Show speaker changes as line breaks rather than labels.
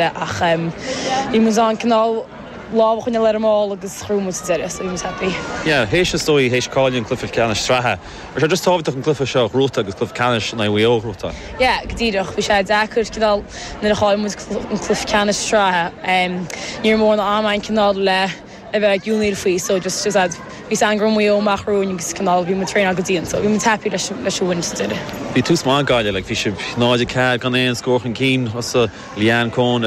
Ach bhí muid in ann cineál lámh a choinneáil ar an mball agus ghnóthaigh muid sa deireadh, so bhí muid happy.
Yeah, théis is dóigh, théis cailleadh an cluiche ceannais sraithe, raibh sé just tábhachtach an cluiche seo a ghnóthachtáil agus cluiche ceannais in aghaidh Mhaigh Eo a ghnóthachtáil?
Yeah, go díreach. Bhí sé deacair cineál nuair a chaill muid an cluiche ceannais sraithe. Ní raibh mórán ama againn cineál le a bheith ag ionaíl faoi so just just bhí fhios againn go raibh Maigh Eo amach romhainn agus cineál bhí muid traenáil go dian so bhí muid happy leis leis an win sa deireadh.
Bhí tús maith ag Gaillimh, like bhí sibh 0-4 gan aon scór chun cinn, thusa, Leanne Coen.